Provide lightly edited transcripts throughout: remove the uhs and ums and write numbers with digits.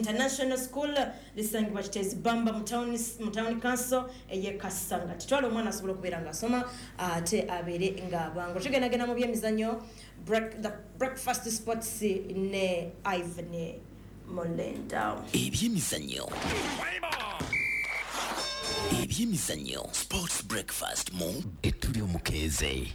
International School lisangibwa Kiteezi Bamba mu town council ey'e Kasanga. Titwala omwana asobola okubeera ng'asoma ate abeere ng'abangula. Tugendagenda mu byemizannyo, the breakfast sports ne Ivan Molenda. Ebyemizannyo. Ebyemizannyo Sports Breakfast mu Etuli Omukeeze.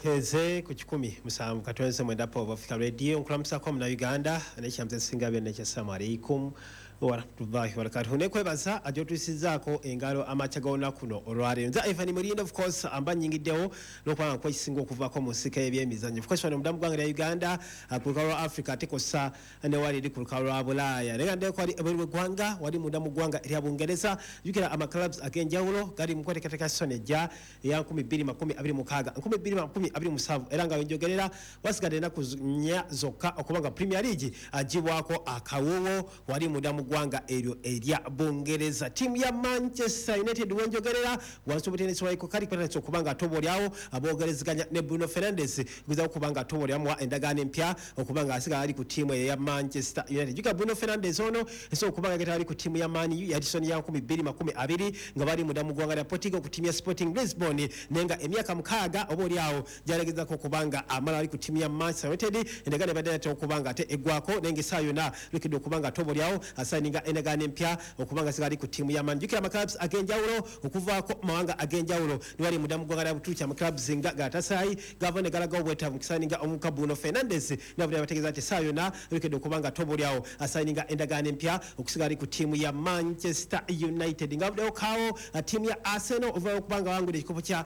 Keze ku 107.9 Power of Africa Radio nkulamusako muna Uganda n'ekyamze singa byonna ekyassalamu alaikum warahmatullahi wabarakatuh. Nekwebaza ajotusizaako engalo amakya g'olunaku kuno olwaleero. Nze Ivan Mulinde, of course amba nnyingiddewo n'okubanga nkwekisinga okuvaako mu nsika y'ebyemizannyo. Of course wano munda mu ggwanga lya Uganda ku lukalu lwa Africa ate kw'ossa ne wali eri ku lukalu lwa Bulaaya. Naye nga ndeko wali ebweru w'eggwanga, wali munda mu ggwanga erya Bungereza. Jjukira ama clubs ag'enjawulo gali mu kweteekateeka season ejja eya 2026 2027, era nga wenjogerera wasigadde ennaku 4 zokka okuba nga Premier League agibwako akawuwo wali munda mu ggwanga eryo erya Bungereza. Ttiimu ya Manchester United wenjogerera wansi w'omutendesi wa Iko Kali kwetandise okuba nga atobolyawo aboogerezeganya ne Bruno Fernandes okugezaako okuba nga atobolyamuwa endagaano empya okuba nga asigala ali ku ttiimu eyo eya Manchester United. Jjukira Bruno Fernandes ono esobola okuba nga getala ali ku ttiimu ya Man U ya season ya 2020 nga bali munda mu ggwanga lya Portugal ku ttiimu ya Sporting Lisbon, naye nga emyaka 6 oba oli awo gy'alegezaako okuba nga amala ali ku ttiimu ya Manchester United. Endagaano ebadde yatera okuba nga ate eggwako, naye ng'essaawa yonna lukedde okuba nga atobolyawo asayininga endagaano empya okuba nga asigala ali ku ttiimu ya Man. Jjukira ama clubs ag'enjawulo okuvaako mawanga ag'enjawulo ne bali munda mu ggwanga lya Buturuki, ama clubs nga Galatasaray gava ne galagawo obwetaavu mu kusayininga omuvubuka Bruno Fernandes, nabuli abategeeza nti essaawa yonna lukedde okuba nga atobolyawo asayininga endagaano empya okusigala ali ku ttiimu ya Manchester United. Nga avuddewo kaawo ttiimu ya Arsenal oluvannyuma lw'okuba nga bawangudde ekikopo kya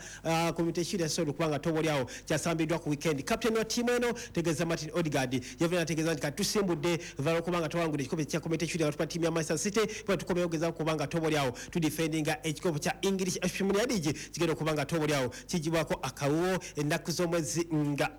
Community Shield yasobola okuba nga tobolyawo kyasambiddwa ku weekend. Captain wa ttiimu eno tegeeza Martin Odegaard yavudde n'ategeeza nti kati tusimbudde oluvannyuma lw'okuba nga twawangudde ekikopo kya Community Shield nga tukuba ttiimu ya Manchester City, bwe tukomewo okugezaako okuba nga tobolyawo tudifendinga ekikopo kya English Premier League kigenda okuba nga tobolyawo kigibwako akawuwo ennaku z'omwezi nga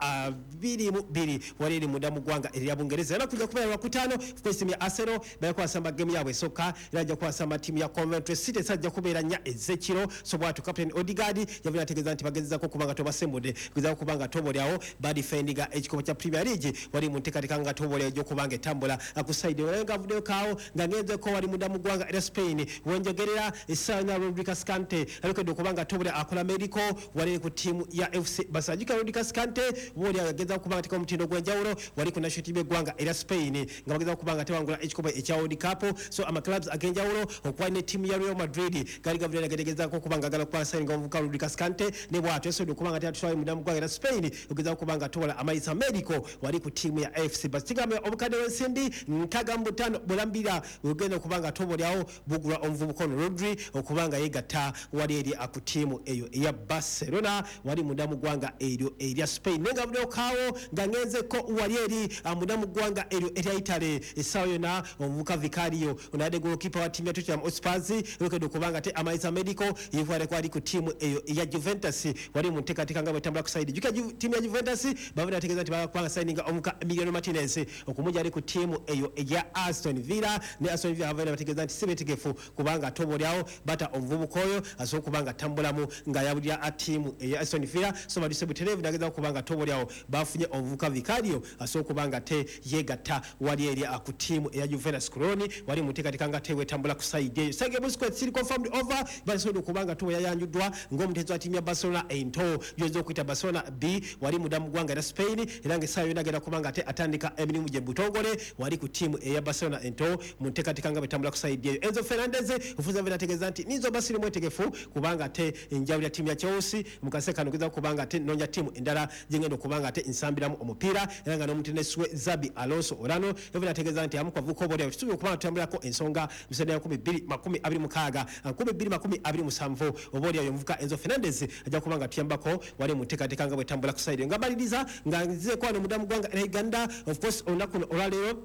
22 wali eri munda mu ggwanga erya Bungereza. Era kujja kubeera Lwakutaano of course ttiimu ya Arsenal bajja kuwasamba game yaabwe esooka, era bajja kuwasamba ttiimu ya Coventry City esajja kubeera 4 ez'ekiro. So bw'atyo Captain Odegaard yavudde n'ategeeza nti bagezezaako okuba nga tobasembudde kugezaako okuba nga tobolyawo badifendinga ekikopo kya Premier League wali mu nteekateeka nga tobolyawo egy'okuba nga etambula ku side naye nga avuddeyo kaawo nga ngenzeko wali munda mu ggwanga erya Spain wenjogerera essaawa yonna Rodri Cascante alekedde okuba nga tobolya akola medical wali ku ttiimu ya FC Barcelona. Jjukira Rodri Cascante boolyawo yagezaako okuba nga ateeka omutindo ogw'enjawulo wali ku national team y'eggwanga erya Spain nga bagezaako okuba nga tewangula ekikopo ekya World Cup. So ama clubs ag'enjawulo okuba ne ttiimu ya Real Madrid gali gavudde nagategezaako okuba nga agala okubasayininga omuvubuka Rodri Cascante, ne bw'atyo yasobodde okuba nga teatutwala munda mu ggwanga erya Spain okugezaako okuba nga tobola amayisa medical wali ku ttiimu ya AFC Barcelona. Kigambibwa obukadde bw'ensimbi 65 bulambira bwegenda okuba nga tobolyawo bugulwa omuvubuka ono Rodri okuba nga yeegatta wali eri ku ttiimu eyo eya Barcelona wali munda mu ggwanga eryo erya Spain. Naye nga avuddeyo kaawo nga ngenzeko wali eri munda mu ggwanga eryo erya Italy essaawa yonna omuvubuka Vicario ono abadde goalkeeper wa ttiimu ya Tottenham Hotspur yokedde okuba nga te amayisa medical yekwateko ali ku ttiimu eyo eya Juventus wali mu nteekateeka nga bwetambula ku side. Jjukira ttiimu ya Juventus bavudde bategeeza nti baagala kubanga sayininga omuvubuka Emiliano Martinez okumugya ali ku ttiimu eyo eya Aston Villa, ne Aston Villa bavudde bategeeza nti si beetegefu kubanga tobolyawo bata omuvubuka oyo asobola okuba nga atambulamu ng'ayabulira ttiimu eya Aston Villa. So baduse butereevu nagezaako okuba nga tobolyawo bafunye omuvubuka Vicario asobola okuba nga te yeegatta wali eri ku ttiimu eya Juventus Cologne wali mu nteekateeka nga teweetambula ku side eyo. Sergio Busquets kiri confirmed over basobodde okuba nga tobo yayanjuddwa ng'omuteezi wa ttiimu ya Barcelona ento gy'oyinza okuyita Barcelona B wali munda mu ggwanga erya Spain, era ng'essaawa yonna agenda kuba nga ate atandika emirimu gye butongole wali ku ttiimu eya Barcelona ento mu nteekateeka nga bwetambula ku side eyo. Enzo Fernandez ofuza vena ategeeza nti ninza oba siri mwetegefu kubanga ate njawulira ttiimu ya Chelsea mu kaseera kano gezaako kubanga ate nnoonya ttiimu endala gye ngenda okuba nga ate nsambiramu omupiira, era nga n'omutendesi we Xabi Alonso Olano yavudde ategeeza nti abamu ku bavubuka oboolyawo tusuubira okuba nga tutambulirako ensonga mu side ya 2026 2027 oboolyawo omuvubuka Enzo Fernandez ajja kuba nga tuyambako wali mu nteekateeka nga bwetambula ku side. Nga mmaliriza nga nzizeeko wano munda mu ggwanga erya Uganda, of course olunaku luno olwaleero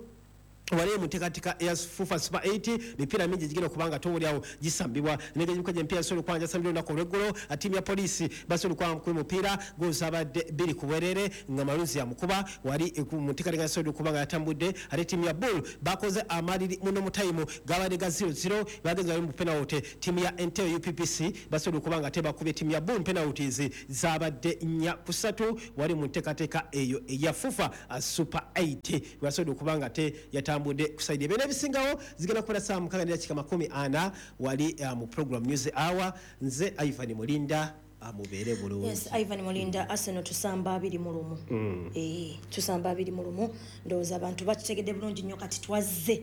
Wali mu nteekateeka ya FUFA Super 8, mipiira mingi gigenda okubanga towulyawo gisambibwa negegimikoja emipiira gisobola okuba nga gyasambibwa olunaku olweggulo. Ttiimu ya Poliisi basobola okuba nga mupiira gozabadde 2 ku bwerere nga Malunzi yamukuba wali mu nteekateeka yasobola okuba nga yatambudde. Ate ttiimu ya Bull bakoze amaliri muno mu tayimu gabadde ga 0-0, bagenze bali mu penalty. Ttiimu ya Entebbe UPPC basobola okuba nga tebakubye ttiimu ya Bull penalties zabadde 4-3 wali mu nteekateeka eyo eya FUFA Super 8 basobola okuba nga te yatambudde kusaidia. Byonna ebisingawo zigenda kubeera ssaawa 6:40 wali mu program News Hour. Nze Ivan Mulinda, amubeere bulungi. Yes, Ivan Mulinda, Arsenal tusamba 2-1. Tusamba 2-1. Ndowooza abantu bakitegedde bulungi nnyo kati twazze.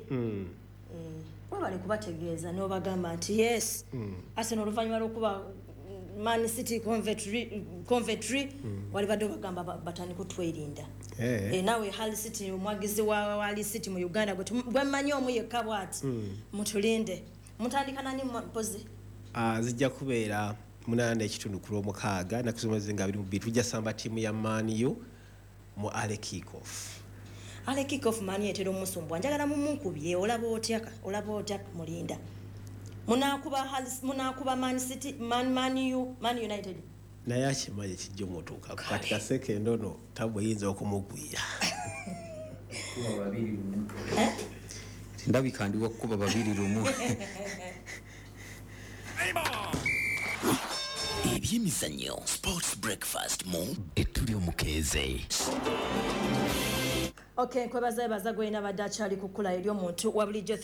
Webale kubategeeza n'obagamba nti yes, Arsenal oluvannyuma lw'okuba Man City Coventry wali badde obagamba batandika otwerinda. Naawe Hull City, omwagizi wa Hull City mu Uganda gwe mmanyi omu yekka bw'ati, mutulinde. Mutandika nani mpozi? Zijja kubeera 8:30 ku Lwomukaaga ennaku z'omwezi nga 22. Tujja samba ttiimu ya Man U mu early kick-off. Early kick-off Man U etera omusumbwa. Njagala mumunkubye, olaba otya, olaba otya Mulinda? Munaakuba Man City, Man U, Man United. Naye akimanyi kijja omutuukako kati kaseke ndono tabu eyinza okumugwira. Ndabika ndi wakukuba 2-1. Ebyemizannyo Sports Breakfast mu Ettuli Omukeeze. Okay, nkwebaza yebaza gwena badde akyali kukula eri omuntu wa bulijjo.